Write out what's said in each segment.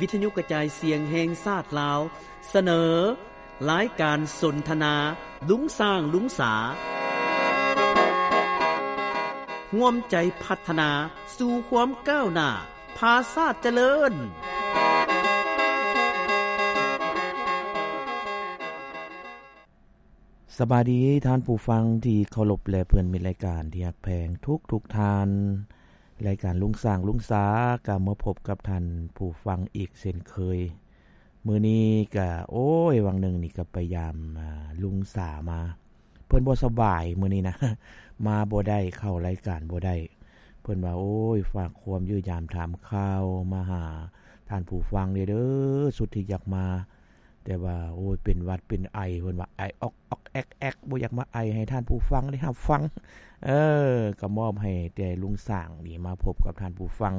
ວິທະຍຸກະຈາຍສຽງແຫ່ງຊາດລາວ ສະເໜີ ລາຍການສົນທະນາ ລຸງຊ້າງ ລຸງສາ ຮ່ວມໃຈພັດທະນາສູ່ຄວາມກ້າວໜ້າ ພາຊາດຈະເລີນ. ສະບາຍດີທ່ານຜູ້ຟັງທີ່ເຄົາລົບ ແລະ ເພື່ອນມິດລາຍການທີ່ຮັກແພງທຸກໆທ່ານ. ລາຍການລຸງຊ້າງ ລຸງສາ ກະມາພົບກັບທ່ານຜູ້ຟັງອີກເຊັ່ນເຄີຍ. ມື້ນີ້ກະ ໂອ້ຍ ຫວ່າງໜຶ່ງນີ້ກະໄປຢາມ ອາ ລຸງສາມາ. ເພິ່ນບໍ່ສະບາຍມື້ນີ້ນະ ມາບໍ່ໄດ້ ເຂົ້າລາຍການບໍ່ໄດ້. ເພິ່ນວ່າ ໂອ້ຍ ຝາກຄວາມຢ້ຽມຢາມຖາມຂ່າວມາຫາທ່ານຜູ້ຟັງແດ່ເດີ ສຸດທີ່ຢາກມາ ແຕ່ວ່າ ໂອ້ຍ ເປັນຫວັດເປັນໄອ ເພິ່ນວ່າ ໄອອອກໆແອກໆ ບໍ່ຢາກມາໄອໃຫ້ທ່ານຜູ້ຟັງໄດ້ຮັບຟັງ. ເອີ ກະມອບໃຫ້ແຕ່ລຸງຊ້າງນີ້ມາພົບກັບທ່ານຜູ້ຟັງ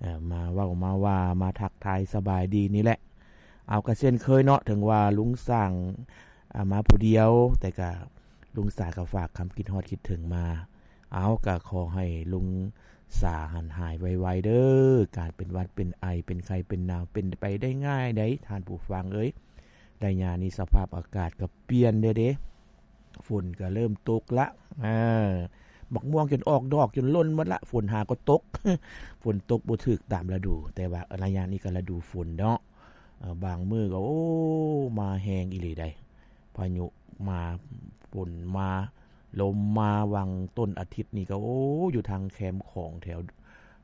ເອີ ມາເວົ້າມາວ່າ ມາທັກທາຍສະບາຍດີນີ້ແຫຼະ. ເອົາ ກະເຊັ່ນເຄີຍເນາະ ເຖິງວ່າລຸງຊ້າງ ອາ ມາຜູ້ດຽວ ແຕ່ກະລຸງສາກະຝາກຄຳຄິດຮອດຄິດເຖິງມາ. ເອົາ ກະຂໍໃຫ້ລຸງສາຫັ້ນຫາຍໄວໆເດີ. ການເປັນຫວັດເປັນໄອ ເປັນໄຂ້ເປັນໜາວ ເປັນໄປໄດ້ງ່າຍໃດ໋ທ່ານຜູ້ຟັງເອີຍ. ໄລຍະນີ້ສະພາບອາກາດກະປ່ຽນແດ່ເດ ຝົນກະເລີ່ມຕົກລະ ເອີ ໝາກມ່ວງຈົນອອກດອກຈົນຫຼົ່ນໝົດລະ ຝົນຫາກໍຕົກ ຝົນຕົກບໍ່ຖືກຕາມລະດູ. ແຕ່ວ່າໄລຍະນີ້ກະລະດູຝົນເນາະ ເອີ ບາງມື້ກໍ ໂອ້ ມາແຮງອີ່ຫຼີໃດ໋ ພາຍຸມາ ຝົນມາ ລົມມາ. ຫວ່າງຕົ້ນອາທິດນີ້ກໍ ໂອ້ ຢູ່ທາງແຄມຂອງແຖວ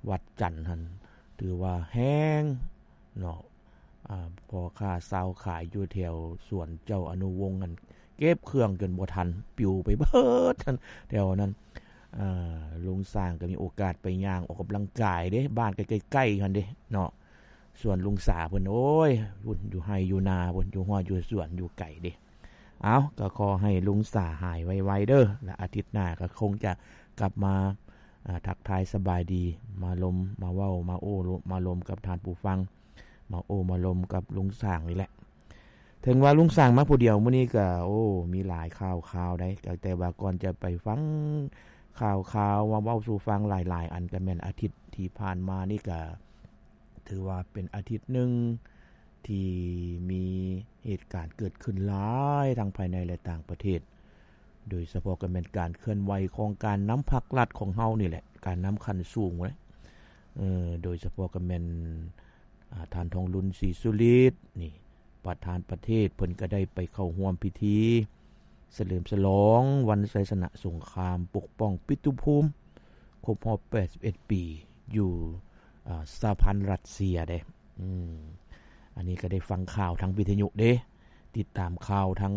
ວັດຈັນຫັ້ນ ຖືວ່າແຮງເນາະ. ອາ ພໍ່ຄ້າຊາວຂາຍຢູ່ແຖວສວນເຈົ້າອະນຸວົງຫັ້ນ ເກັບເຄື່ອງຈົນບໍ່ທັນ ປິວໄປເບີດແຖວນັ້ນ. ອາ ລຸງຊ້າງກໍມີໂອກາດໄປຍ່າງອອກກຳລັງກາຍເດ້ ບ້ານກໍໃກ້ໆຫັ້ນເດ້ເນາະ. ສ່ວນລຸງສາເພິ່ນ ໂອ້ຍ ພຸ້ນຢູ່ໄຮ່ຢູ່ນາພຸ້ນ ຢູ່ຮອດຢູ່ສວນ ຢູ່ໄກເດ້. ເອົາ ກໍຂໍໃຫ້ລຸງສາຫາຍໄວໆເດີ ແລະ ອາທິດໜ້າກໍຄົງຈະກັບມາ ອາ ທັກທາຍສະບາຍດີ ມາລົມ ມາເວົ້າ ມາໂອ້ ມາລົມກັບທ່ານຜູ້ຟັງ ມາໂອ້ມາລົມກັບລຸງຊ້າງນີ້ແຫຼະ. ເຖິງວ່າລຸງຊ້າງມາຜູ້ດຽວມື້ນີ້ກໍ ໂອ້ ມີຫຼາຍຂ່າວຄາວໃດ໋ ແຕ່ວ່າກ່ອນຈະໄປຟັງຂ່າວຄາວມາເວົ້າສູ່ຟັງຫຼາຍໆອັນ ກໍແມ່ນອາທິດທີ່ຜ່ານມານີ້ກໍ ຖືວ່າເປັນອາທິດໜຶ່ງທີ່ມີເຫດການເກີດຂຶ້ນຫຼາຍທັງພາຍໃນ ແລະ ຕ່າງປະເທດ ໂດຍສະເພາະກໍແມ່ນການເຄື່ອນໄຫວຂອງການນຳພັກລັດຂອງເຮົານີ້ແຫຼະ ການນຳຂັ້ນສູງເລີຍ. ເອີ ໂດຍສະເພາະກໍແມ່ນ ອາ ທ່ານ ທອງລຸນ ສີສຸລິດ ນີ້ ປະທານປະເທດ ເພິ່ນກໍໄດ້ໄປເຂົ້າຮ່ວມພິທີສະເຫຼີມສະຫຼອງວັນໄຊຊະນະສົງຄາມປົກປ້ອງປິຕຸພູມ ຄົບຮອບແປດສິບເອັດປີ ຢູ່ ອາ ສະຫະພັນລັດເຊຍເດ້. ອືມ ອັນນີ້ກໍໄດ້ຟັງຂ່າວທາງວິທະຍຸເດ້ ຕິດຕາມຂ່າວທາງ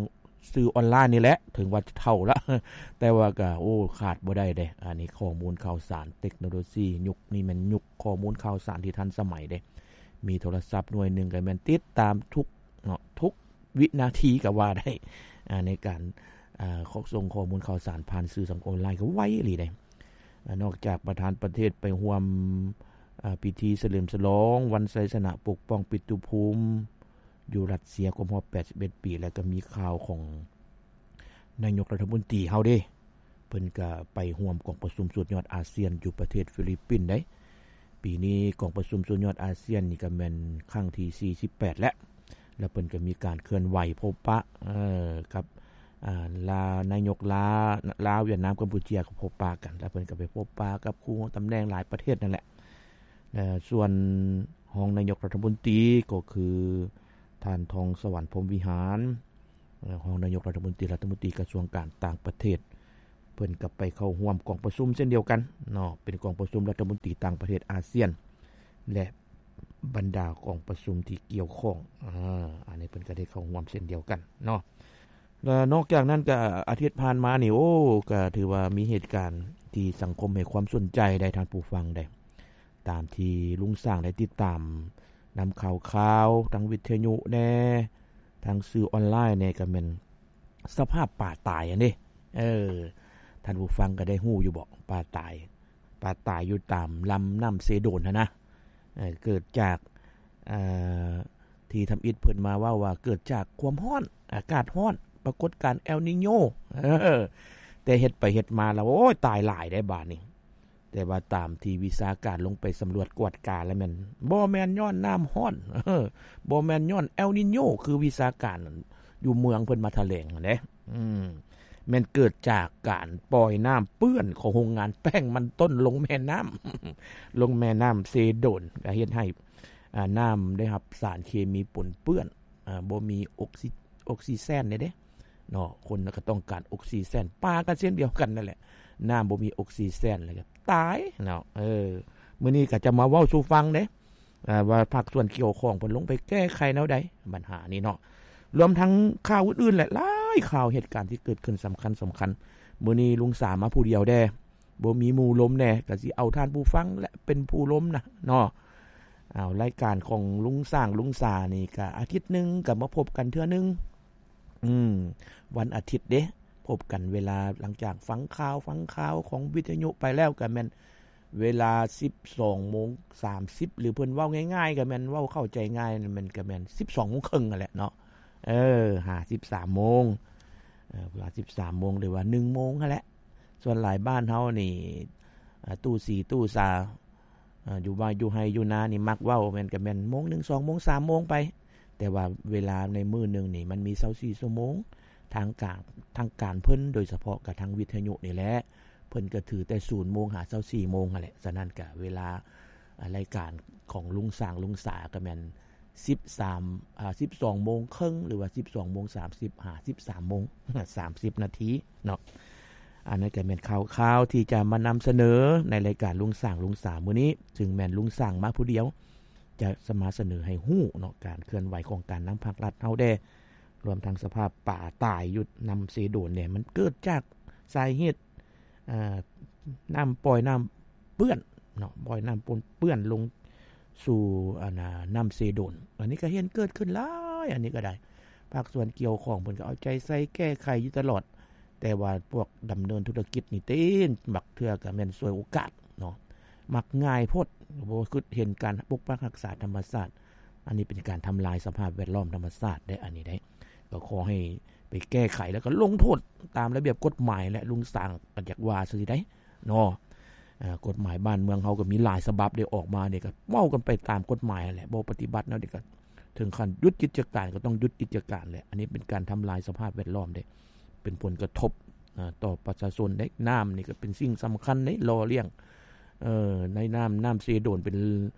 ສື່ອອນລາຍນີ້ແຫຼະ ເຖິງວ່າຈະເຖົ້າລະ ແຕ່ວ່າກໍ ໂອ້ ຂາດບໍ່ໄດ້ເດ້. ອັນນີ້ຂໍ້ມູນຂ່າວສານເຕັກໂນໂລຊີ ຍຸກນີ້ແມ່ນຍຸກຂໍ້ມູນຂ່າວສານທີ່ທັນສະໄໝເດ້ ມີໂທລະສັບໜ່ວຍໜຶ່ງກໍແມ່ນຕິດຕາມທຸກເນາະ ທຸກວິນາທີກໍວ່າໄດ້ ອາ ໃນການ ອາ ສົ່ງຂໍ້ມູນຂ່າວສານຜ່ານສື່ສັງຄົມອອນລາຍກໍໄວອີ່ຫຼີເດ້. ອາ ນອກຈາກປະທານປະເທດໄປຮ່ວມ ອາ ພິທີສະເຫຼີມສະຫຼອງວັນໄຊຊະນະປົກປ້ອງປິຕຸພູມຢູ່ລັດເຊຍຄົບຮອບແປດສິບເອັດປີ ແລ້ວກໍມີຂ່າວຂອງນາຍົກລັດຖະມົນຕີເຮົາເດ້ ເພິ່ນກໍໄປຮ່ວມກອງປະຊຸມສຸດຍອດອາຊຽນຢູ່ປະເທດຟີລິບປິນໃດ໋. ປີນີ້ກອງປະຊຸມສຸດຍອດອາຊຽນນີ້ກໍແມ່ນຄັ້ງທີສີ່ສິບແປດແລ້ວ ແລ້ວເພິ່ນກໍມີການເຄື່ອນໄຫວພົບປະ ເອີ ກັບ ອາ ລາ ນາຍົກລາ ລາວ ຫວຽດນາມ ກຳປູເຈຍ ກໍພົບປະກັນ ແລ້ວເພິ່ນກໍໄປພົບປະກັບຄູ່ຕຳແໜ່ງຫຼາຍປະເທດນັ້ນແຫຼະ. ແລະ ສ່ວນຮອງນາຍົກລັດຖະມົນຕີກໍຄືທ່ານ ທອງສະຫວັນ ພົມວິຫານ ເອີ ຮອງນາຍົກລັດຖະມົນຕີ ລັດຖະມົນຕີກະຊວງການຕ່າງປະເທດ ເພິ່ນກໍໄປເຂົ້າຮ່ວມກອງປະຊຸມເຊັ່ນດຽວກັນເນາະ ເປັນກອງປະຊຸມລັດຖະມົນຕີຕ່າງປະເທດອາຊຽນ ແລະ ບັນດາກອງປະຊຸມທີ່ກ່ຽວຂ້ອງ ອາ ອັນນີ້ເພິ່ນກໍໄດ້ເຂົ້າຮ່ວມເຊັ່ນດຽວກັນເນາະ. ແລະ ນອກຈາກນັ້ນກໍອາທິດຜ່ານມານີ້ ໂອ້ ກໍຖືວ່າມີເຫດການທີ່ສັງຄົມໃຫ້ຄວາມສົນໃຈໄດ໋ ທ່ານຜູ້ຟັງໄດ໋ ຕາມທີ່ລຸງຊ້າງໄດ້ຕິດຕາມນຳຂ່າວຄາວ ທັງວິທະຍຸແດ່ ທັງສື່ອອນລາຍແດ່ ກໍແມ່ນສະພາບປາຕາຍຫັ້ນເດ້. ເອີ ທ່ານຜູ້ຟັງກໍໄດ້ຮູ້ຢູ່ບໍ ປາຕາຍ ປາຕາຍຢູ່ຕາມລຳນ້ຳເຊໂດນຫັ້ນນະ ເອີ ເກີດຈາກ ເອີ ທີ່ທຳອິດເພິ່ນມາເວົ້າວ່າເກີດຈາກຄວາມຮ້ອນ ອາກາດຮ້ອນ ປາກົດການແອລນີໂຍ ເອີ ແຕ່ເຮັດໄປເຮັດມາແລ້ວ ໂອ້ຍ ຕາຍຫຼາຍໄດ໋ບາດນີ້. ແຕ່ວ່າຕາມທີ່ວິຊາການລົງໄປສຳຫຼວດກວດກາແລ້ວແມ່ນ ບໍ່ແມ່ນຍ້ອນນ້ຳຮ້ອນ ບໍ່ແມ່ນຍ້ອນເອລນີໂຍ ຄືວິຊາການຢູ່ເມືອງເພິ່ນມາຖະແຫຼງຫັ້ນເດ້. ອືມ ແມ່ນເກີດຈາກການປ່ອຍນ້ຳເປື້ອນຂອງໂຮງງານແປ້ງມັນຕົ້ນລົງແມ່ນ້ຳ ລົງແມ່ນ້ຳເຊໂດນ ກໍເຮັດໃຫ້ ອາ ນ້ຳໄດ້ຮັບສານເຄມີປົນເປື້ອນ ອາ ບໍ່ມີອົກຊີ ອົກຊີແຊນເດ້ເນາະ. ຄົນກໍຕ້ອງການອົກຊີແຊນ ປາກໍເຊັ່ນດຽວກັນນັ້ນແຫຼະ ນ້ຳບໍ່ມີອົກຊີແຊນແລ້ວກໍຕາຍເນາະ. ເອີ ມື້ນີ້ກໍຈະມາເວົ້າສູ່ຟັງເດ້ ອາ ວ່າພາກສ່ວນກ່ຽວຂ້ອງເພິ່ນລົງໄປແກ້ໄຂແນວໃດບັນຫານີ້ເນາະ. ລວມທັງຂ່າວອື່ນໆແຫຼະ ຫຼາຍຂ່າວເຫດການທີ່ເກີດຂຶ້ນສຳຄັນໆ. ມື້ນີ້ລຸງສາມາຜູ້ດຽວແດ່ ບໍ່ມີໝູ່ລົມແດ່ ກໍຊິເອົາທ່ານຜູ້ຟັງແຫຼະເປັນຜູ້ລົມນະເນາະ. ເອົາ ລາຍການຂອງລຸງຊ້າງລຸງສານີ້ກໍອາທິດໜຶ່ງກໍມາພົບກັນເທື່ອໜຶ່ງ. ອືມ ວັນອາທິດເດ້ ພົບກັນເວລາຫຼັງຈາກຟັງຂ່າວ ຟັງຂ່າວຂອງວິທະຍຸໄປແລ້ວ ກໍແມ່ນເວລາສິບສອງໂມງສາມສິບ ຫຼືເພິ່ນເວົ້າງ່າຍໆ ກໍແມ່ນເວົ້າເຂົ້າໃຈງ່າຍ ແມ່ນ ກໍແມ່ນສິບສອງໂມງເຄິ່ງຫັ້ນແຫຼະເນາະ. ເອີ ຫາສິບສາມໂມງ ເອີ ຫາສິບສາມໂມງ ຫຼືວ່າໜຶ່ງໂມງຫັ້ນແຫຼະ. ສ່ວນຫຼາຍບ້ານເຮົານີ້ ອາ ຕູ້ສີຕູ້ສາ ອາ ຢູ່ບ້ານ ຢູ່ໄຮ່ຢູ່ນານີ້ມັກເວົ້າແມ່ນ ກໍແມ່ນໂມງໜຶ່ງ ສອງໂມງ ສາມໂມງໄປ. ແຕ່ວ່າເວລາໃນມື້ໜຶ່ງນີ້ມັນມີຊາວສີ່ຊົ່ວໂມງ ທາງການ ທາງການເພິ່ນ ໂດຍສະເພາະກັບທາງວິທະຍຸນີ້ແຫຼະ ເພິ່ນກໍຖືແຕ່ສູນໂມງຫາຊາວສີ່ໂມງຫັ້ນແຫຼະ. ສະນັ້ນກໍເວລາ ອາ ລາຍການຂອງລຸງຊ້າງລຸງສາກໍແມ່ນສິບສາມ ອາ ສິບສອງໂມງເຄິ່ງ ຫຼືວ່າສິບສອງໂມງສາມສິບ ຫາສິບສາມໂມງສາມສິບນາທີເນາະ. ອັນນັ້ນກໍແມ່ນຂ່າວໆທີ່ຈະມານຳສະເໜີໃນລາຍການລຸງຊ້າງລຸງສາມື້ນີ້ ຊຶ່ງແມ່ນລຸງຊ້າງມາຜູ້ດຽວ ຈະ ຈະມາສະເໜີໃຫ້ຮູ້ເນາະ ການເຄື່ອນໄຫວຂອງການນຳພາກລັດເຮົາແດ່ ລວມທັງສະພາບປາຕາຍຢູ່ນ້ຳເຊໂດນແດ່ ມັນເກີດຈາກສາເຫດ ເອີ ນ້ຳປ່ອຍນ້ຳເປື້ອນເນາະ ປ່ອຍນ້ຳປົນເປື້ອນລົງສູ່ ອັນນ່າ ນ້ຳເຊໂດນ. ອັນນີ້ກໍເຫັນເກີດຂຶ້ນຫຼາຍ ອັນນີ້ກໍໄດ້ ພາກສ່ວນກ່ຽວຂ້ອງເພິ່ນກໍເອົາໃຈໃສ່ແກ້ໄຂຢູ່ຕະຫຼອດ ແຕ່ວ່າພວກດຳເນີນທຸລະກິດນີ້ຕິ ບັກເທື່ອກໍແມ່ນສວຍໂອກາດເນາະ ມັກງ່າຍໂພດ ບໍ່ຄິດເຫັນການປົກປັກຮັກສາທຳມະຊາດ. ອັນນີ້ເປັນການທຳລາຍສະພາບແວດລ້ອມທຳມະຊາດເດ້ ອັນນີ້ໄດ້ ກໍຂໍໃຫ້ໄປແກ້ໄຂ ແລ້ວກໍລົງໂທດຕາມລະບຽບກົດໝາຍ ແລະ ລຸງຊ້າງກໍຢາກວ່າຊື່ໄດ໋ເນາະ. ເອີ ກົດໝາຍບ້ານເມືອງເຮົາກໍມີຫຼາຍສະບັບໄດ້ອອກມານີ້ ກໍເວົ້າກັນໄປຕາມກົດໝາຍຫັ້ນແຫຼະ ບໍ່ປະຕິບັດແນວໃດກໍເຖິງຂັ້ນຢຸດກິດຈະການ ກໍຕ້ອງຢຸດກິດຈະການແຫຼະ. ອັນນີ້ເປັນການທຳລາຍສະພາບແວດລ້ອມເດ້ ເປັນຜົນກະທົບ ອາ ຕໍ່ປະຊາຊົນເດ້. ນ້ຳນີ້ກໍເປັນສິ່ງສຳຄັນເດ້ ຫຼໍ່ລ້ຽງ ເອີ ໃນນ້ຳ ນ້ຳເຊໂດນເປັນ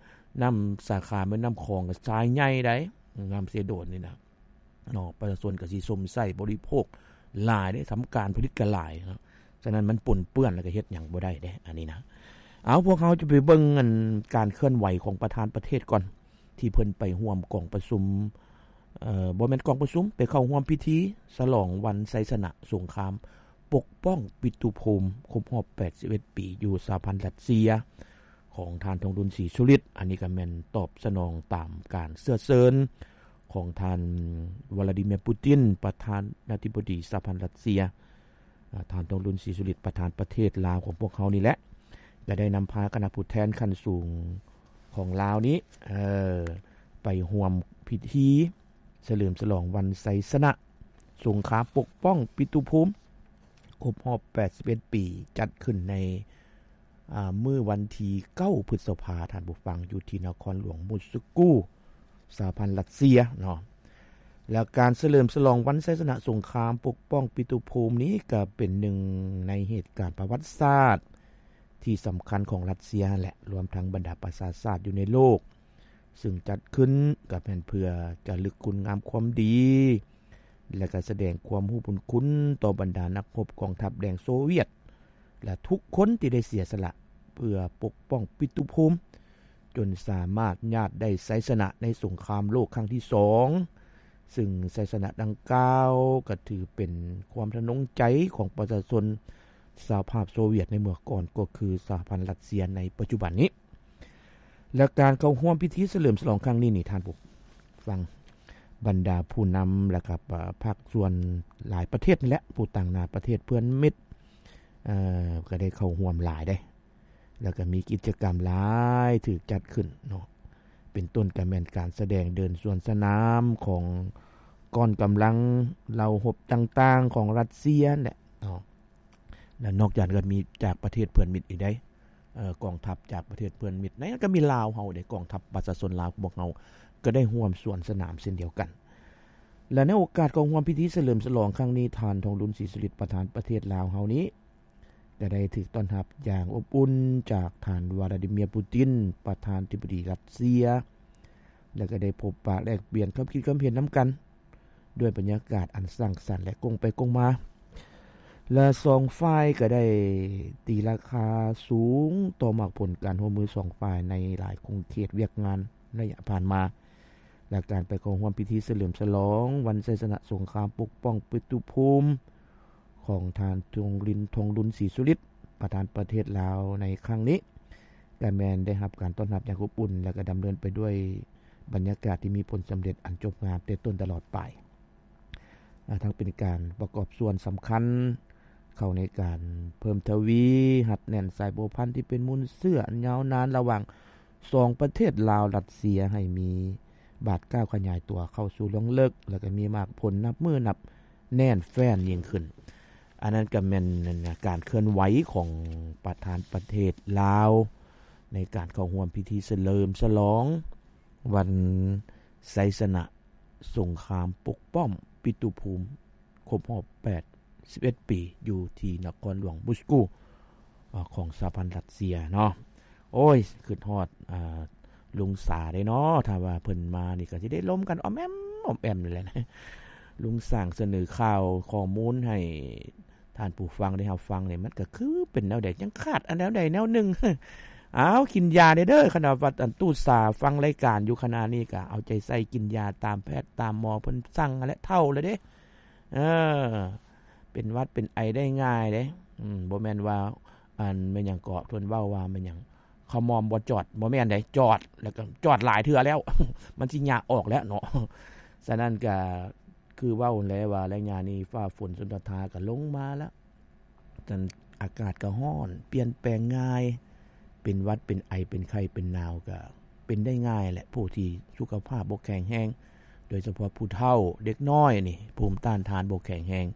ນ້ຳສາຂາແມ່ນ້ຳຂອງ ກໍສາຍໃຫຍ່ໃດ໋ ນ້ຳເຊໂດນນີ້ນະ ເນາະ ປະຊາຊົນກໍຊິຊົມໃຊ້ບໍລິໂພກຫຼາຍເດ້ ທຳການຜະລິດກໍຫຼາຍເນາະ. ສະນັ້ນມັນປົນເປື້ອນແລ້ວກໍເຮັດຫຍັງບໍ່ໄດ້ເດ້ ອັນນີ້ນະ. ເອົາ ພວກເຮົາຈະໄປເບິ່ງ ອັນ ການເຄື່ອນໄຫວຂອງປະທານປະເທດກ່ອນ ທີ່ເພິ່ນໄປຮ່ວມກອງປະຊຸມ ເອີ ບໍ່ແມ່ນກອງປະຊຸມ ໄປເຂົ້າຮ່ວມພິທີສະຫຼອງວັນໄຊຊະນະສົງຄາມປົກປ້ອງປິຕຸພູມຄົບຮອບແປດສິບເອັດປີ ຢູ່ສະຫະພັນລັດເຊຍ ຂອງທ່ານ ທອງລຸນ ສີສຸລິດ. ອັນນີ້ກໍແມ່ນຕອບສະໜອງຕາມການເຊື້ອເຊີນຂອງທ່ານ ວລາດີເມຍ ປູຕິນ ປະທານາທິບໍດີສະຫະພັນລັດເຊຍ. ອາ ທ່ານ ທອງລຸນ ສີສຸລິດ ປະທານປະເທດລາວຂອງພວກເຮົານີ້ແຫຼະ ກໍໄດ້ນຳພາຄະນະຜູ້ແທນຂັ້ນສູງຂອງລາວນີ້ ເອີ ໄປຮ່ວມພິທີສະເຫຼີມສະຫຼອງວັນໄຊຊະນະສົງຄາມປົກປ້ອງປິຕຸພູມຄົບຮອບແປດສິບເອັດປີ ຈັດຂຶ້ນໃນ ອາ ມື້ວັນທີເກົ້າ ພຶດສະພາ ທ່ານຜູ້ຟັງ ຢູ່ທີ່ນະຄອນຫຼວງມົສກູ ສະຫະພັນລັດເຊຍເນາະ. ແລ້ວການສະເຫຼີມສະຫຼອງວັນໄຊຊະນະສົງຄາມປົກປ້ອງປິຕຸພູມນີ້ ກໍເປັນໜຶ່ງໃນເຫດການປະຫວັດສາດທີ່ສຳຄັນຂອງລັດເຊຍຫັ້ນແຫຼະ ລວມທັງບັນດາປະຊາຊາດຢູ່ໃນໂລກ ຊຶ່ງຈັດຂຶ້ນກໍແມ່ນເພື່ອຈະລຶກຄຸນງາມຄວາມດີ ແລະ ກໍສະແດງຄວາມຮູ້ບຸນຄຸນຕໍ່ບັນດານັກຮົບກອງທັບແດງໂຊວຽດ ແລະ ທຸກຄົນທີ່ໄດ້ເສຍສະຫຼະເພື່ອປົກປ້ອງປິຕຸພູມ ຈົນສາມາດຍາດໄດ້ໄຊຊະນະໃນສົງຄາມໂລກຄັ້ງທີສອງ ຊຶ່ງໄຊຊະນະດັ່ງກ່າວກໍຖືເປັນຄວາມທະນົງໃຈຂອງປະຊາຊົນສະຫະພາບໂຊວຽດໃນເມື່ອກ່ອນ ກໍຄືສະຫະພັນລັດເຊຍໃນປັດຈຸບັນນີ້. ແລະ ການເຂົ້າຮ່ວມພິທີສະເຫຼີມສະຫຼອງຄັ້ງນີ້ນີ້ ທ່ານຜູ້ຟັງ ບັນດາຜູ້ນຳ ແລະ ກໍພາກສ່ວນຫຼາຍປະເທດນີ້ແຫຼະ ຜູ້ຕາງໜ້າປະເທດເພື່ອນມິດ ເອີ ກໍໄດ້ເຂົ້າຮ່ວມຫຼາຍເດ້ ແລ້ວກໍມີກິດຈະກຳຫຼາຍຖືກຈັດຂຶ້ນເນາະ ເປັນຕົ້ນກໍແມ່ນການສະແດງເດີນສວນສະໜາມຂອງກ້ອນກຳລັງເຫຼົ່າຮົບຕ່າງໆຂອງລັດເຊຍແຫຼະເນາະ. ແລະ ນອກຈາກນັ້ນກໍມີຈາກປະເທດເພື່ອນມິດອີກໄດ໋ ເອີ ກອງທັບຈາກປະເທດເພື່ອນມິດ ໃນນັ້ນກໍມີລາວເຮົາເດ້ ກອງທັບປະຊາຊົນລາວຂອງພວກເຮົາກໍໄດ້ຮ່ວມສວນສະໜາມເຊັ່ນດຽວກັນ. ແລະ ໃນໂອກາດເຂົ້າຮ່ວມພິທີສະເຫຼີມສະຫຼອງຄັ້ງນີ້ ທ່ານ ທອງລຸນ ສີສຸລິດ ປະທານປະເທດລາວເຮົານີ້ ກໍໄດ້ຖືກຕ້ອນຮັບຢ່າງອົບອຸ່ນຈາກທ່ານ ວລາດີເມຍ ປູຕິນ ປະທານທິບໍດີຣັດເຊຍ ແລະ ກໍໄດ້ພົບປະແລກປ່ຽນຄວາມຄິດຄວາມເຫັນນຳກັນ ດ້ວຍບັນຍາກາດອັນສ້າງສັນ ແລະ ກົງໄປກົງມາ ແລະ ສອງຝ່າຍກໍໄດ້ຕີລາຄາສູງຕໍ່ໝາກຜົນການຮ່ວມມືສອງຝ່າຍໃນຫຼາຍຂົງເຂດວຽກງານໄລຍະຜ່ານມາ ແລະ ການໄປເຂົ້າຮ່ວມພິທີສະເຫຼີມສະຫຼອງວັນໄຊຊະນະສົງຄາມປົກປ້ອງປິຕຸພູມຂອງທ່ານ ທອງລິນ ທອງລຸນ ສີສຸລິດ ປະທານປະເທດລາວໃນຄັ້ງນີ້ ກໍແມ່ນໄດ້ຮັບການຕ້ອນຮັບຢ່າງອົບອຸ່ນ ແລະ ກໍດຳເນີນໄປດ້ວຍບັນຍາກາດທີ່ມີຜົນສຳເລັດອັນຈົບງາມແຕ່ຕົ້ນຕະຫຼອດປາຍ. ອາ ທັງເປັນການປະກອບສ່ວນສຳຄັນເຂົ້າໃນການເພີ່ມທະວີຮັດແໜ້ນສາຍພົວພັນທີ່ເປັນມູນເຊື້ອອັນຍາວນານລະຫວ່າງສອງປະເທດລາວ-ຣັດເຊຍ ໃຫ້ມີບາດກ້າວຂະຫຍາຍຕົວເຂົ້າສູ່ລວງເລິກ ແລະ ກໍມີໝາກຜົນນັບມື້ນັບແໜ້ນແຟ້ນຍິ່ງຂຶ້ນ. ອັນນັ້ນກໍແມ່ນ ອັນນະ ການເຄື່ອນໄຫວຂອງປະທານປະເທດລາວ ໃນການເຂົ້າຮ່ວມພິທີສະເຫຼີມສະຫຼອງວັນໄຊຊະນະ ສົງຄາມປົກປ້ອງປິຕຸພູມຄົບຮອບແປດສິບເອັດປີ ຢູ່ທີ່ນະຄອນຫຼວງມົສກູ ອາ ຂອງສະຫະພັນຣັດເຊຍເນາະ. ໂອ້ຍ ຄິດຮອດ ອາ ລຸງສາເດ້ເນາະ ຖ້າວ່າເພິ່ນມານີ້ກໍຊິໄດ້ລົມກັນອອມແອມ ອອມແອມນີ້ແຫຼະ. ລຸງສາງສະເໜີຂ່າວຂໍ້ມູນໃຫ້ ທ່ານຜູ້ຟັງໄດ້ຮັບຟັງນີ້ ມັນກໍຄືເປັນແນວໃດ ຍັງຂາດອັນແນວໃດແນວໜຶ່ງ. ອ້າວ ກິນຢາແດ່ເດີ ຄັນວ່າອັນຕູ້ສາຟັງລາຍການຢູ່ຂະນະນີ້ ກໍເອົາໃຈໃສ່ກິນຢາຕາມແພດຕາມໝໍເພິ່ນສັ່ງຫັ້ນແຫຼະ ເຖົ້າແລ້ວເດ້. ເອີ ເປັນຫວັດເປັນໄອໄດ້ງ່າຍເດ້. ອືມ ບໍ່ແມ່ນວ່າ ອັນ ແມ່ນຫຍັງເກາະ ເພິ່ນເວົ້າວ່າແມ່ນຫຍັງ ຂະໝອມບໍ່ຈອດ ບໍ່ແມ່ນໃດ ຈອດ ແລ້ວກໍຈອດຫຼາຍເທື່ອແລ້ວ ມັນຊິຍາກອອກແລ້ວເນາະ. ສະນັ້ນກໍ ຄືເວົ້າແຫຼະວ່າໄລຍະນີ້ຟ້າຝົນຊົນທະທາກໍລົງມາລະ ອາກາດກໍຮ້ອນ ປ່ຽນແປງງ່າຍ ເປັນຫວັດ ເປັນໄອ ເປັນໄຂ້ ເປັນໜາວ ກໍເປັນໄດ້ງ່າຍແຫຼະ. ຜູ້ທີ່ສຸຂະພາບບໍ່ແຂງແຮງ ໂດຍສະເພາະຜູ້ເຖົ້າ ເດັກນ້ອຍນີ້ ພູມຕ້ານທານບໍ່ແຂງແຮງ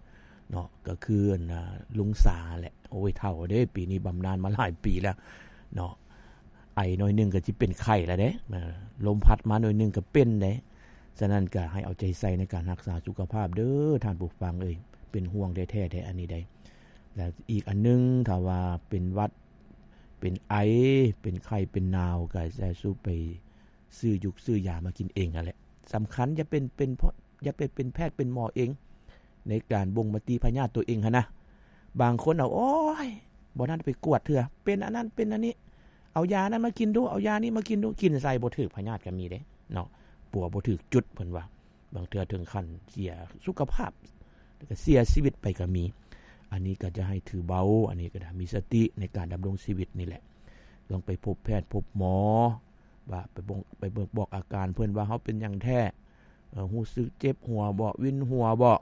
ເນາະ ກໍຄື ອັນ ລຸງສາແຫຼະ. ໂອ້ຍ ເຖົ້າເດ້ ປີນີ້ບຳນານມາຫຼາຍປີແລ້ວເນາະ. ໄອໜ້ອຍໜຶ່ງກໍຊິເປັນໄຂ້ແລ້ວເດ້ ເອີ ລົມພັດມາໜ້ອຍໜຶ່ງກໍເປັນເດ້. ສະນັ້ນກໍໃຫ້ເອົາໃຈໃສ່ໃນການຮັກສາສຸຂະພາບເດີທ່ານຜູ້ຟັງເອີຍ ເປັນຫ່ວງແທ້ໆ ແທ້ອັນນີ້ໄດ໋. ແລະ ອີກອັນໜຶ່ງ ຖ້າວ່າເປັນຫວັດ ເປັນໄອ ເປັນໄຂ້ ເປັນໜາວ ກໍຢ່າສູ່ໄປຊື້ຢຸກຊື້ຢາມາກິນເອງຫັ້ນແຫຼະ ສຳຄັນ. ຢ່າເປັນ ເປັນ ຢ່າໄປເປັນແພດເປັນໝໍເອງ ໃນການບົ່ງມະຕິພະຍາດຕົວເອງຫັ້ນນະ. ບາງຄົນເອົາ ໂອ້ຍ ບໍ່ທັນໄປກວດເທື່ອ ເປັນອັນນັ້ນເປັນອັນນີ້ ເອົາຢານັ້ນມາກິນດູ ເອົາຢານີ້ມາກິນດູ ກິນໃສ່ບໍ່ຖືກພະຍາດກໍມີເດ້ເນາະ ປົວບໍ່ຖືກຈຸດ ເພິ່ນວ່າ ບາງເທື່ອເຖິງຂັ້ນເສຍສຸຂະພາບ ແລ້ວກໍເສຍຊີວິດໄປກໍມີ. ອັນນີ້ກໍຈະໃຫ້ຖືເບົາ ອັນນີ້ກໍໄດ້ມີສະຕິໃນການດຳລົງຊີວິດນີ້ແຫຼະ. ຕ້ອງໄປພົບແພດພົບໝໍ ວ່າໄປບົ່ງ ໄປເບິ່ງບອກອາການເພິ່ນວ່າເຮົາເປັນຫຍັງແທ້ ເອີ ຮູ້ສຶກເຈັບຫົວບໍ ວິນຫົວບໍ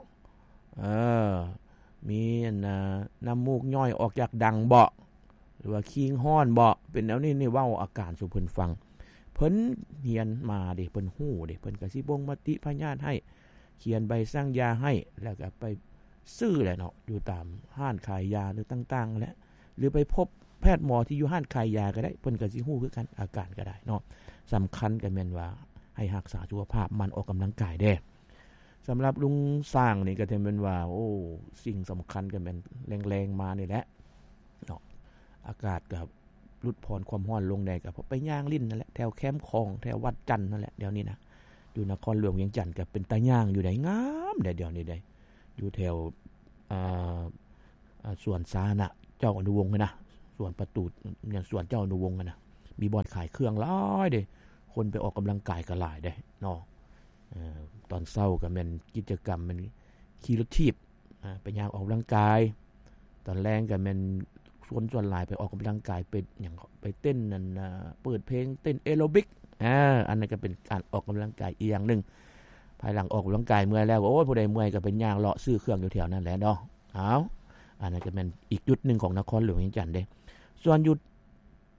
ເອີ ມີອັນນະ ນ້ຳມູກຍ້ອຍອອກຢາກດັງບໍ ຫຼືວ່າຄີງຮ້ອນບໍ ເປັນແນວນີ້ນີ້ ເວົ້າອາການສູ່ເພິ່ນຟັງ. ເພິ່ນຮຽນມາເດ້ ເພິ່ນຮູ້ເດ້ ເພິ່ນກໍຊິບົ່ງມະຕິພະຍາດໃຫ້ ຂຽນໃບສັ່ງຢາໃຫ້ ແລ້ວກໍໄປຊື້ແຫຼະເນາະ ຢູ່ຕາມຮ້ານຂາຍຢາ ຫຼືຕ່າງໆແຫຼະ ຫຼືໄປພົບແພດໝໍທີ່ຢູ່ຮ້ານຂາຍຢາກໍໄດ້ ເພິ່ນກໍຊິຮູ້ຄືກັນ ອາການກໍໄດ້ເນາະ. ສຳຄັນກໍແມ່ນວ່າໃຫ້ຮັກສາສຸຂະພາບ ໝັ່ນອອກກຳລັງກາຍແດ່. ສຳລັບລຸງຊ້າງນີ້ກໍຖືແມ່ນວ່າ ໂອ້ ສິ່ງສຳຄັນກໍແມ່ນແລງໆມານີ້ແຫຼະເນາະ ອາກາດກໍຫຼຸດຜ່ອນຄວາມຮ້ອນລົງແດ່ ກໍໄປຍ່າງຫຼິ້ນນັ້ນແຫຼະ ແຖວແຄມຂອງ ແຖວວັດຈັນນັ້ນແຫຼະ. ດຽວນີ້ນະ ຢູ່ນະຄອນຫຼວງວຽງຈັນກໍເປັນຕາຍ່າງຢູ່ໃດ໋ ງາມແດ່ດຽວນີ້ໃດ໋ ຢູ່ແຖວ ອ່າ ອ່າ ສວນສາທາລະນະເຈົ້າອະນຸວົງຫັ້ນນະ ສວນປະຕູ ຫຍັງ ສວນເຈົ້າອະນຸວົງຫັ້ນນະ ມີບ່ອນຂາຍເຄື່ອງຫຼາຍເດ້ ຄົນໄປອອກກຳລັງກາຍກໍຫຼາຍເດ້ເນາະ. ເອີ ຕອນເຊົ້າກໍແມ່ນກິດຈະກຳແມ່ນຂີ່ລົດຖີບ ອ່າ ໄປຍ່າງອອກກຳລັງກາຍ ຕອນແລງກໍແມ່ນຄົນສ່ວນຫຼາຍໄປອອກກຳລັງກາຍ ໄປຫຍັງ ໄປເຕັ້ນນັ້ນນະ ເປີດເພງເຕັ້ນແອໂຣບິກ ອ່າ ອັນນັ້ນກໍເປັນການອອກກຳລັງກາຍອີກຢ່າງໜຶ່ງ. ພາຍຫຼັງອອກກຳລັງກາຍເມື່ອຍແລ້ວ ໂອ້ຍ ຜູ້ໃດເມື່ອຍກໍໄປຍ່າງເລາະຊື້ເຄື່ອງຢູ່ແຖວນັ້ນແຫຼະເນາະ. ອ້າວ ອັນນັ້ນກໍແມ່ນອີກຈຸດໜຶ່ງຂອງນະຄອນຫຼວງວຽງຈັນເດ້. ສ່ວນຢູ່